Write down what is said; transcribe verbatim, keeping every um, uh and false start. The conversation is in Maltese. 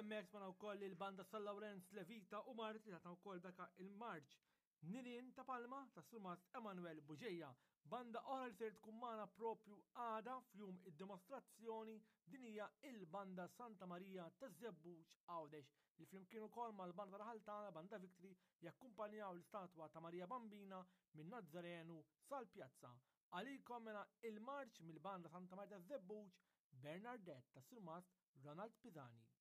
hemmhekk smajna wkoll il-banda San Lawrenz Levita u Marti tatna wkoll daka il-marċ Nirien ta' Palma ta' Surmast Emanuel Buġeja. Banda oħra li ser tkun magħna propju għada f'jum id-dimostrazzjoni din hija il-banda Santa Maria ta' Żebbuġ Għawdex li flimkien ukoll mal-banda Raħaltana Banda Victory jakkumpanjaw l-istatwa ta' Maria Bambina minn Nazzarenu sal-Pjazza. Għalikom mela il-marċ mill-banda Santa Maria ta' Żebbuġ Bernardette ta' Surmast Ronald Pisani.